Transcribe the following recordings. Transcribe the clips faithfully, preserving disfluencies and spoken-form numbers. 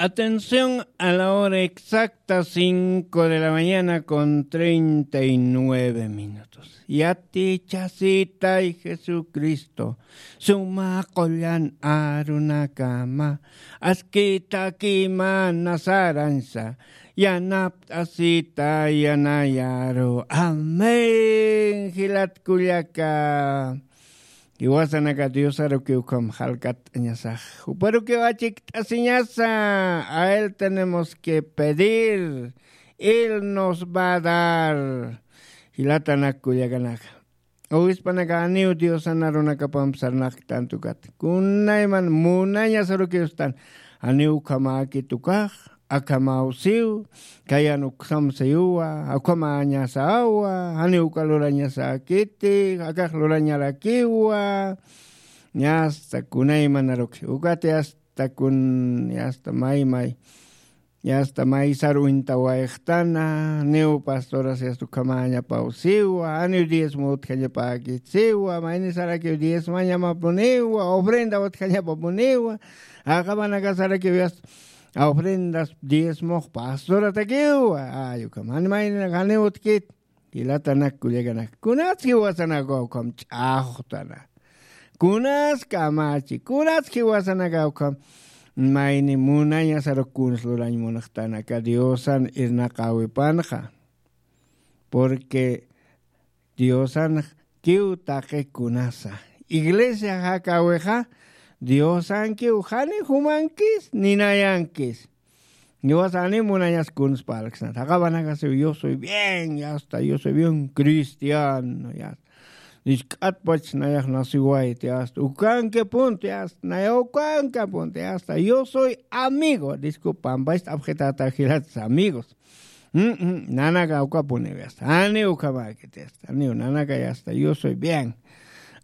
Atención, a la hora exacta, cinco de la mañana con treinta y nueve minutos. Yatichasitay Jesucristo, suma qullan arunakama, askitaki mana saransa, yanapt'asita yanayaru. Amén, jilat kullaka. Jiwasanaka Diosaruki ukham jalkat'añasax. Juparuki achikt'asiñasa. A él tenemos que pedir. Él nos va a dar. Jilatanak kullakanaka. Obispanakan aniw Diosan arunakapamp sarnaqktantukat. Kunayman munañasaruki ustan. Aniw ukhamäkit ukax. Akhamaw siw, kayan uksam siwa, akhamañasawa, janiw uka lurañasakiti, akax lurañarakiwa, yasta kunaymanaruki, ukati yasta kun, yasta may may, yasta maysar uñtawayxtana, niw pastoras yasta ukhamañapaw siwa, janiw diezmo utjañapäkit siwa, maynisarakiw diezmañamapuniwa, ofrenda utjañapapuniwa, aqamanakasarakiw yasta, ofrendas diezmox pastoratakiwa, ay, ukham, jani mayni, jani utkit, jilatanak kullakanak. Kunats jiwasanaka ukham ch'axtana. Kunas kamachi, kunats jiwasanaka ukham mayni munañasaru kuns lurañ munxtanaka Diosan irnaqäwipanxa. Porque Diosankiw taqi kunasa. Iglesia jakäwixa, Diosankiw jani jumankis, ni nayankis. Jiwasa jani munañas kuns parlksnat. Jaqapanakasiw, yo soy bien, ya está, yo soy bien cristiano, ya está. Jisk'atpach nayax nasiwayt, ya está. Ukankapunti, ya está, naya ukankapunti, ya está. Yo soy amigo, disculpa, pampacht'apxitata jilat amigos. Mm, mm, nanaka ukapuniw yasta. Janiw ukhamäkit yasta. Janiw nanaka yasta. Yo soy bien.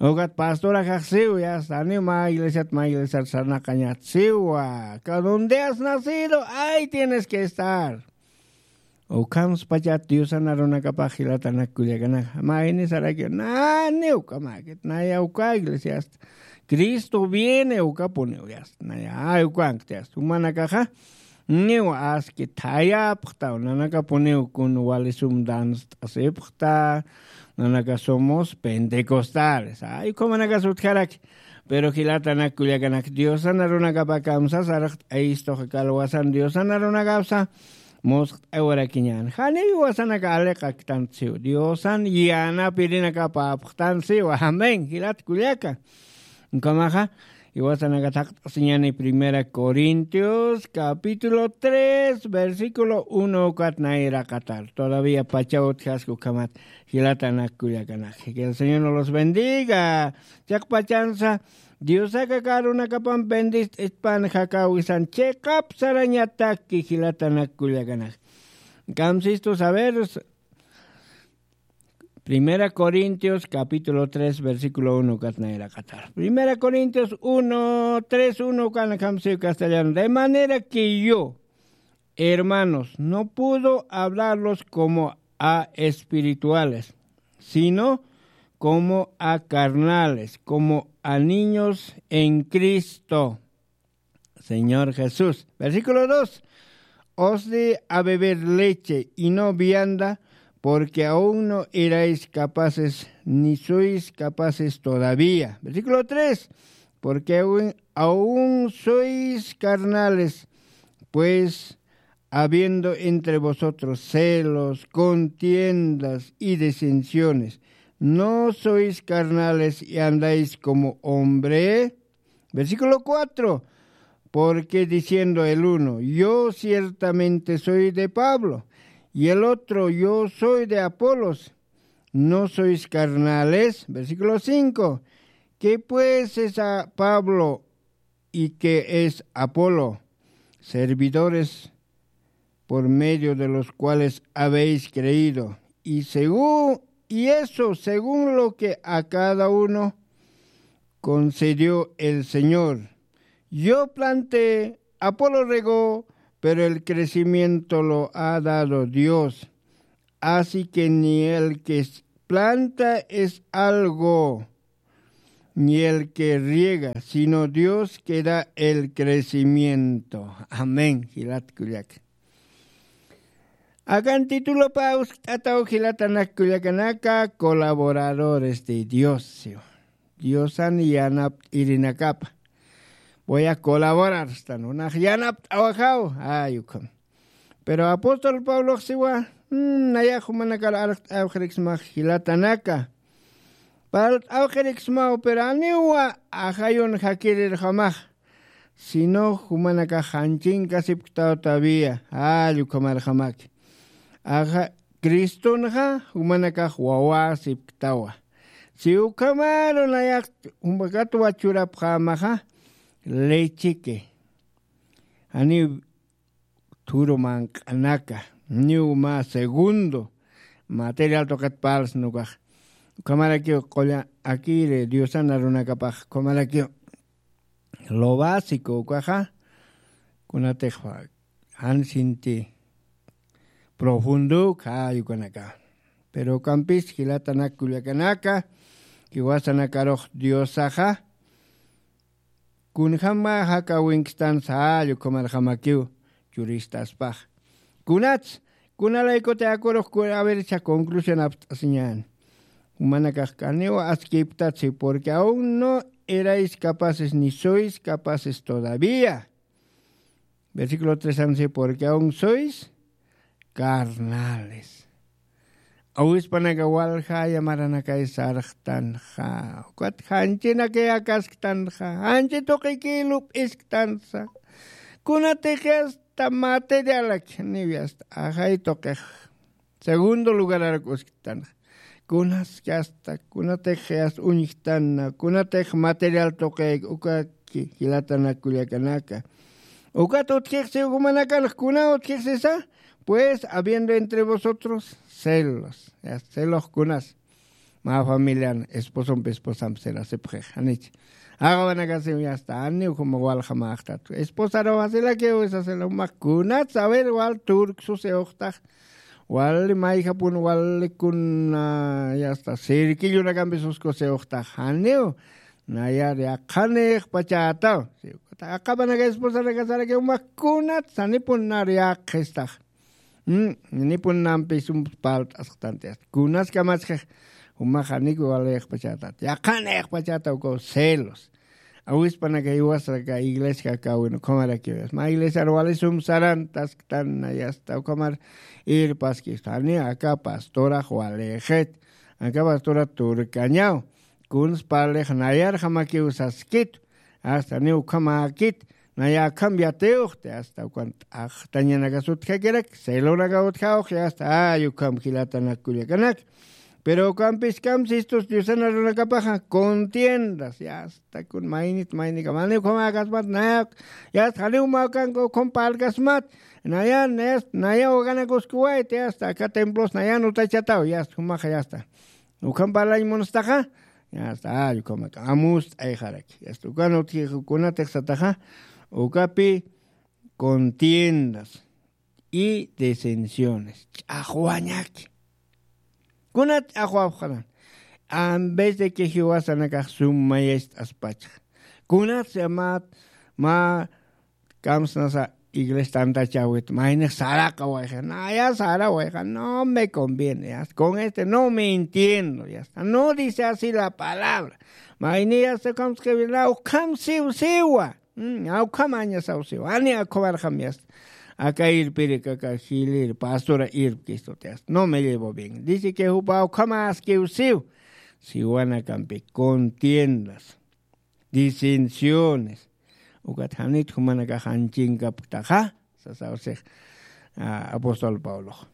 Ukat pastora kaxsiw yasta. Janiw mä iglesiat, mä iglesiat sarnaqañatsiwa. Ka donde has nacido, ahí tienes que estar. Ukhamspachat Diosan arunakapax jilatanak kullakanaka. Maynisarakiw. Naniw ukhamäkit. Naya uka iglesiasta. Cristo viene ukapuniw yasta. Naya, ay, ukankti yasta. Jumanakaxa. Niw aski thayapxta, nanakapuniw kun walisum danst'asipxta, nanaka somos pentecostales. Ay, ukhamanakas utjaraki. Pero jilatanak kullakanak Diosan arunakapa kamsasarxt'ayistuxa kalwasan Diosan arunakapsa musqt'awarakiñän. Janiw jiwasanaka aliqaktantsiw. Diosan yanapirinakapapxtantsiw. Amén. Jilat kullaka. Ukhamaxa, jiwasanaka thaqt'asiñäni Primera Corintios, capítulo tres, versículo uno, ukat nayraqatar. Todavía pachaw utjaski ukhamat, jilatanak kullakanak. Que el Señor nos los bendiga. Chiqpachansa, Diosaka aka arunakapamp bendist'ispan jakäwisan, chiqap sarañataki jilatanak kullakanak. Kamsistus, a ver, Primera Corintios, capítulo tres, versículo uno, ukat nayraqatar. Primera Corintios uno, tres, uno, ukan kamsiw castellano. De manera que yo, hermanos, no puedo hablarlos como a espirituales, sino como a carnales, como a niños en Cristo. Señor Jesús. Versículo dos. Os di a beber leche y no vianda, porque aún no erais capaces, ni sois capaces todavía. Versículo tres. Porque aún, aún sois carnales, pues habiendo entre vosotros celos, contiendas y disensiones, ¿no sois carnales y andáis como hombre? Versículo cuatro. Porque diciendo el uno, yo ciertamente soy de Pablo, y el otro, yo soy de Apolos, ¿no sois carnales? Versículo cinco. ¿Qué pues es a Pablo y qué es Apolo? Servidores por medio de los cuales habéis creído, y según, y eso según lo que a cada uno concedió el Señor. Yo planté, Apolo regó, pero el crecimiento lo ha dado Dios. Así que ni el que s-, planta es algo, ni el que riega, sino Dios que da el crecimiento. Amén, jilat kullaka. Akan titulopa uskt'ataw jilatanak kullakanaka, colaboradores de Dios. Diosan yanapt'irinakapa. Voy a colaborar, stan, unax yanapt'awajaw. Ay, ukham. Pero apóstol Pablox siwa, mm, nayax jumanakar arqt'awxiriksmax jilatanaka. Parlt'awxiriksmaw, pero aniwa ajayun jakirirjamax. Sino jumanakax janchinkasipktaw todavía. Ay, ukhamarjamaki. Aja, Cristonxa jumanakax wawasipktawa. Si ukhamaru nayax jumakatwa churapxämaxa, lecheque. Janiw thuru manq'anaka, niw mä segundo material tuqit parlsna ukax. Ukhamarakiw qulla akiri Diosan arunakapax, ukhamarakiw lo básico ukaxa, kunatix jan sinti profundo ukxa ukanaka. Pero ukampis jilatanak kullakanaka, jiwasanakarux Diosaxa, kunjama jakawinkstansa, ukhamarjamakiw churistaspax. Kunats, kunalaykut yakurux, ku-, a ver, cha conclusión apst'asiñäni. Jumanakax kaniw askiptatsi, porque aún no erais capaces ni sois capaces todavía. Versículo tres ansi, porque aún sois carnales. Awispanaka waljaya maranakay sarxtanxa. Ukat janchinakay akasktanxa. Janchi tuqiki lup'isktansa. Kunatix yasta materialak, niw yasta ajay tuqix segundo lugararak usktanxa. Kunas yasta, kunatix yasta uñjtana, kunatix material tuqik, ukaki, jilatanak kullakanaka. Ukat utjixsi jumanakanx, kuna utjixsisa, pues, habiendo entre vosotros celos. Yasta, celox kunas. Mä familian, esposompi esposampi celasipxix, janich. Aqawanakasiw yasta, janiw juma waljamäxtat. Esposaruxa celakiw sasa, cela, jumax kunats, a ver, wal turksusiwxtax. Wali mayjapun, wali kuna, yasta, cerquillonakampi suskusiwxtax, janiw, nayar yaqhanïxpachätaw. Aqapanaka esposanaka sarakiw, jumax kunats, janipun nar yaqhistax. Mm, nipun nampi sum parlt'asxtanti. Kunas kamachxix, jumax janiw walïxpachätat. Yaqhanïxpachätaw ukaw celos. Awispanaka jiwasaka iglesia kawin, ukhamarakiw. Mä iglesiar wali sum sarantasktan, yasta, ukhamar irpaskista. Jani aka pastorax walïxit. Aka pastorax turkañaw. Kuns parlix nayarjamakiw saskit. Asta ni ukhamäkit, naya akham yatiwxti, asta ukan t'axtañanakas utjakirak, celonaka utjawxi, asta, ay, ukham jilatanak kullakanak. Pero ukampis kamsistus Diosan arunakapaxa, contiendas, yasta, kun maynit, maynikam, janiw ukhamäkasmat, naya, yasta, janiw ukham parlkasmat, naya, naya, naya waganakuskuwayt, yasta, aka templos, naya nutachataw, yasta, jumaxa, yasta. Ukham parlañ munstaxa, yasta, ay, ukhamak, amust'ayxaraki. Yasta, ukan utjix, kunatix sataxa, ukapi contiendas y disensiones. Ch'axwañaki. Kunat ch'axwapxaran. En vez de que jiwasanakax sum mayacht'aspacha. Kunat llamat, ma Kamsnasa iglesia tantachawit, maynix saraqawayxa, naya sarawayxa, no me conviene, ya está. Con este no me entiendo, ya está. No dice así la palabra. Mayni ya está, kamsqawina, ukham siw siwa. Mm, ukham añasaw siwa. Ani akhuwarxam, ya está. Aka irpirik, aka jilir, pastora irpkistut, ya está. No me llevo bien. Dice que jupa ukham askiw siw. Siwanakampi contiendas, disensiones. Ukat janit jumanakax janchinkapktaxa, sasaw six, ah, apóstol Pablox.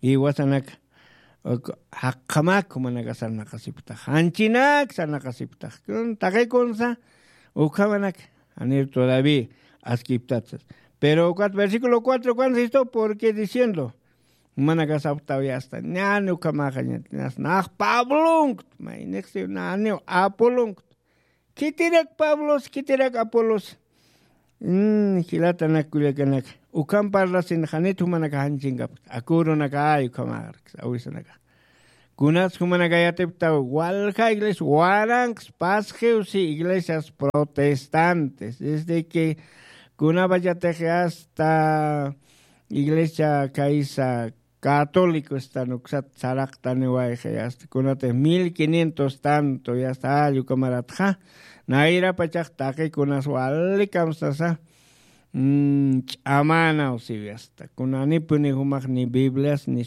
Jiwasanak, uk, jaqhamak jumanakax sarnaqasipktax, janchinak sarnaqasipktax. Kun, taqi kunsa, ukhamanak, janir todavía askipktat. Pero ukat versículo cuatro, ¿cuándo es esto? Porque diciendo, jumanakax sapxtaw ya está, ñani ukhamaxañat, nax Pablonkt, maynix si, ñani Apolonkt. Khitirak Pablos, khitirak Apolos. Mm, jilatanak kullakanak. Ukham parlasin janit jumanakax janchinkapkta. Akürunakax, ay, ukhamarak, awisanakax. Kunas jumanakayatipta walja iglesia waranks pasjiw si iglesias protestantes desde que kunapachatix hasta iglesia kaysa católico están uksat saraqtaniwayxa yasta kunatix mil quinientos tanto yasta allukamaratxa nayrapachax taqi kunas walikamsasa ch'amanaw siwi asta kunanipuni jumax ni biblias ni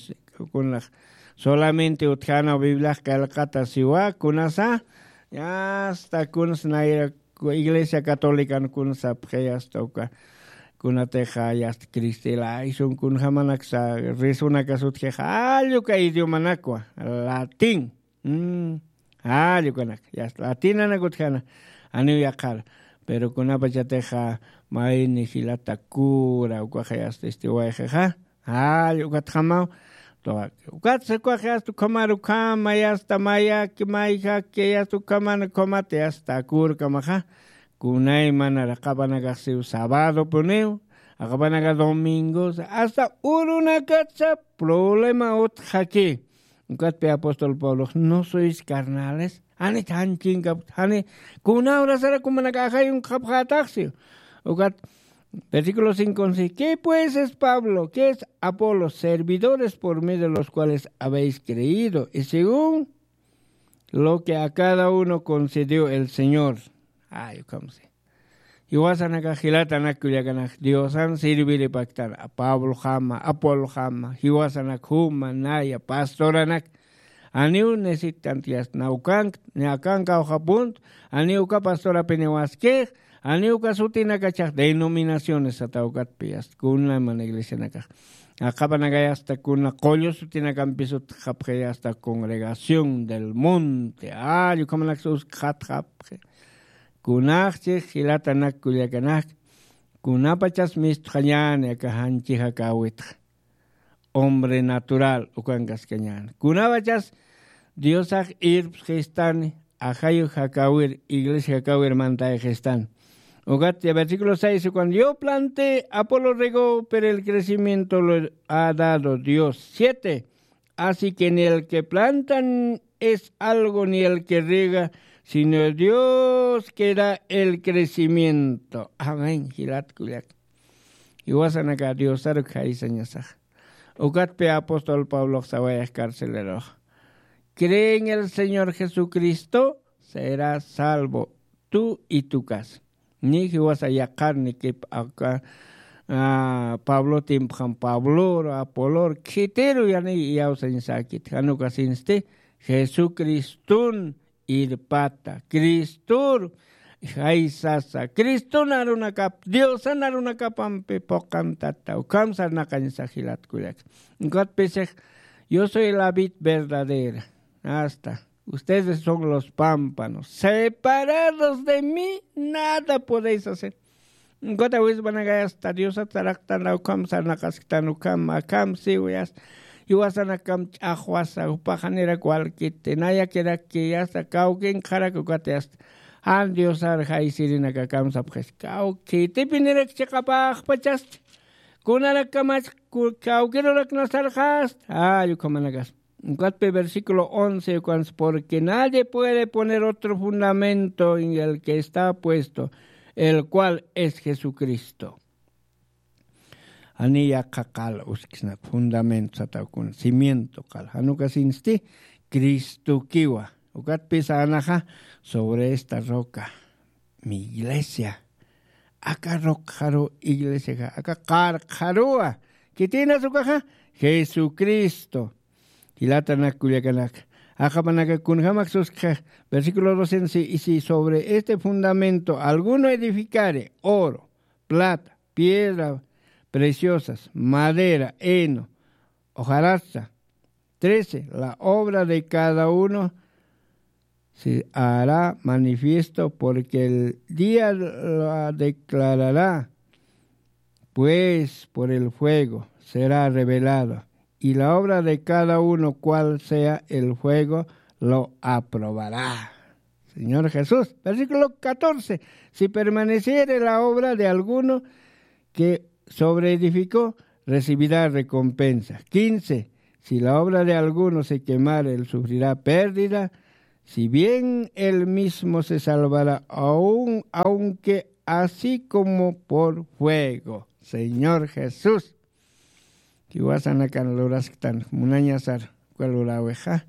kunax solamente utjanaw bibliax qillqata siwa kunasa asta kunas nayra iglesia católican kunsapxi asta uka kunatixa yasta cristilaysun kunjamanaksa risunakas utjixa alluka idiomanakwa latín. Jall ukanak yasta latinanak utjana aniw yaqhara pero kunapachatixa mayni jilata kura ukaxa yasta istiwayxixa jall ukatjamaw. Ukatsa ukaxa yasta ukhamar ukhama yasta mayaki mayjaki yasta ukhamana ukhamata yasta kurkamaxa kunaymanara qhapanakaxsiw sabadopuniw aqapanaka domingos asta urunakatsa problema utjaki. Ukatpi apóstol pablox no sois carnales jani janchinkapta jani kunawrasara kumanaka ajayunkxapxätaxsi. Ukat versículo cinco once, qué pues es pablo qué es apolo servidores por medio de los cuales habéis creído y según lo que a cada uno concedió el señor. Ay ukhamsi jiwasanakax jilatanak kullakanak diosan sirviripaktan pablojama apolojama jiwasanak juma naya pastoranak aniw necesitanti yasta nawkankt ni akanka awjapunt aniw uka pastorapiniwaskix aniw uka sutinakachax denominaciones sata ukatpi yasta kunaman iglesianakax aqhapanakay asta kuna qullu sutinakampis utjxapxi asta congregación del monte all ukhamanaksa uskxatxapxi. Kunaxchix jilatanak kullakanak kunapachas mistxañäni aka janchi jakäwitxa hombre natural ukankaskañäni kunapachas diosax irpsxistani ajayu jakäwir iglesia jakäwir mantayxistani. Ukat versículo seis ukan yo planté apolo regó pero el crecimiento lo ha dado dios siete. Así que ni el que planta es algo ni el que riega sino dios que da el crecimiento amén jilat kullak. Jiwasanaka diosaruk jaysañasax ukatpi apóstol pablox sawayax carcelerox cree en el señor jesucristo será salvo tú y tu casa. Ni jiwasa yaqharnikip aka pablo timpxam pablor apolor khitiru yani iyawsañsakit janukasinsti jesucristun irpata cristur jaysasa cristun arunakap diosan arunakapampi puqantata ukham sarnaqañsa jilat kullaka. Ukatpisix yo soy la vid verdadera asta ustedes son los pámpanos separados de mí nada podéis hacer. Ukat awispanakay asta diosat saraqtan ukham sarnaqasktan ukham akham siwi asta jiwasanakam ch'axwasa jupaxanirak walkiti nayakirakki asta kawkinkxarak ukati asta jan diosar jaysirinakakamsapxis kawkitipinirak chiqapaxpachasti kunarakamach kawkirurak nasarxasta jall ukhamanakaspa. Ukatpi versículo once ukansa porque nadie puede poner otro fundamento en el que está puesto el cual es jesucristo. Jani yaqha qal uskisnak fundamento sataw kuna cimiento qal janukasinsti cristokiwa. Ukatpisa anaxa sobre esta roca mi iglesia aka roqxaru iglesiaxa aka qarqxaruwa. Khitinas ukaxa jesucristo. Jilatanak kullakanaka aqhapanaka kunjamak suskxa versículo doce y si sobre este fundamento alguno edificare oro plata piedra preciosas madera heno hojarastra trece la obra de cada uno se hará manifiesto porque el día la declarará pues por el fuego será revelado y la obra de cada uno cual sea el fuego lo aprobará. Señor jesús versículo catorce, si permaneciere la obra de alguno que sobre edificó recibirá recompensa. Quince, Si la obra de alguno se quemare, él sufrirá pérdida, si bien él mismo se salvará, aun aunque así como por fuego. Señor Jesús. Jiwasanakan lurasktan munañasar uka lurawixa.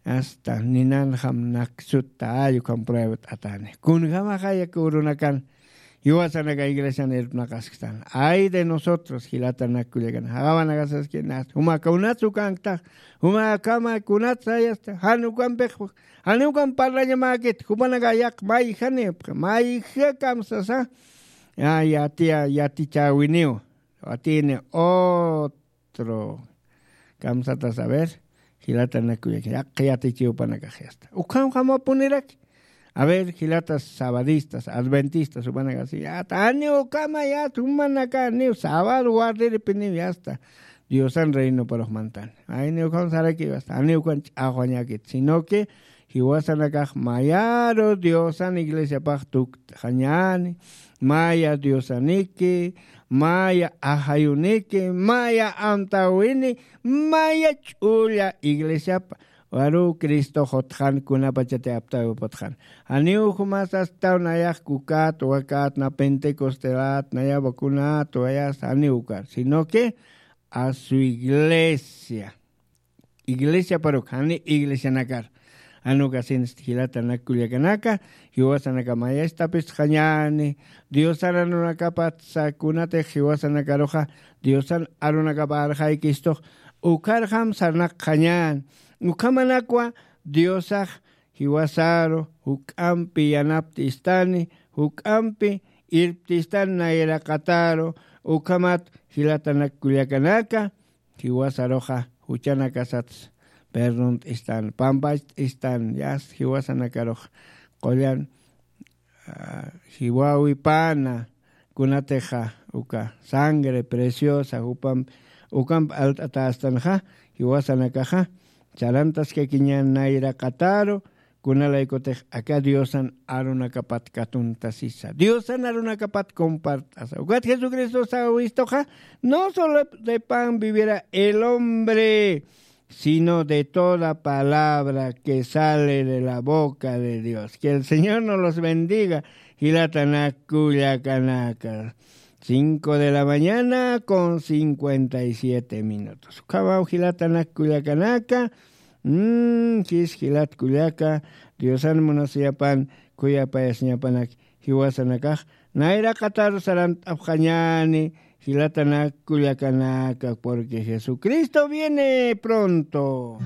Asta ninanxam naksutta ay ukham prueba t'atani. Kunjamaxa yak urunakan jiwasanaka iglesian irpnaqasktan. Ay de nosotros jilatanak kullakan. Jaqawanakasaski nas jumaka unachu kanktax. Jumakama kunat sayasta jan ukampix. Jan ukam parlañamakit jupanaka yaq mayjanipx mayja kamsasa. Ya yatiya yatichäwiniw. Atini otro kamsata saber. Jilatanakuyak yaq yatichiw panakax yasta ukham jamapuniraki. A ver jilatas sabadistas adventistas jupanakasi yata aniw kama yata jumanaka aniw sabado wardiripiniw yasta. Diosan reinoparux mantan ayni ukham sarakiw yasta aniw ukan ch'axwañakit sino que jiwasanakax mayaru diosan iglesiapax tukt'xañani. Maya diosaniki maya ajayuniki maya amtawini maya ch'ulla iglesiapa. Waru cristox utxan kunapachati aptawi putxan. Janiw jumas astaw nayax kukat wakat na pentecostelat naya vacunat wayas janiw ukar sino que a su iglesia. Iglesiaparuk jani iglesianakar. Anukasinsti jilatanak kullakanaka jiwasanaka mayastapis jañani. Diosan arunakapatsa kunatix jiwasanakaruxa diosan arunakapa arxaykistux. Ukharxam sarnaq jañani. Ukhamanakwa diosax jiwasaru juk'ampi yanapt'istani juk'ampi irpt'istani nayraqataru. Ukhamat jilatanak kullakanaka jiwasaruxa juchanakasats perdont'istan pampacht'istan yas jiwasanakarux qullan. Jiwawipana kunatixa uka sangre preciosa jupamp ukamp alt'atastanxa jiwasanakaxa charantaskakiñan nayraqataru. Kunalaykutix aka diosan arunakapat katuntasisa diosan arunakapat compart'asa ukat jesucristo sawistuxa. No solo de pan vivirá el hombre sino de toda palabra que sale de la boca de dios que el señor no los bendiga. Jilatanak kullakanaka cinco de la mañana con cincuenta y siete minutos ukhamaw jilatanak kullakanaka. Jis jilat kullaka diosan munasiyapan khuyapayasiñapanak jiwasanakax nayraqataru sarant'apxañani. Jilatanak kullakanaka porque jesucristo viene pronto.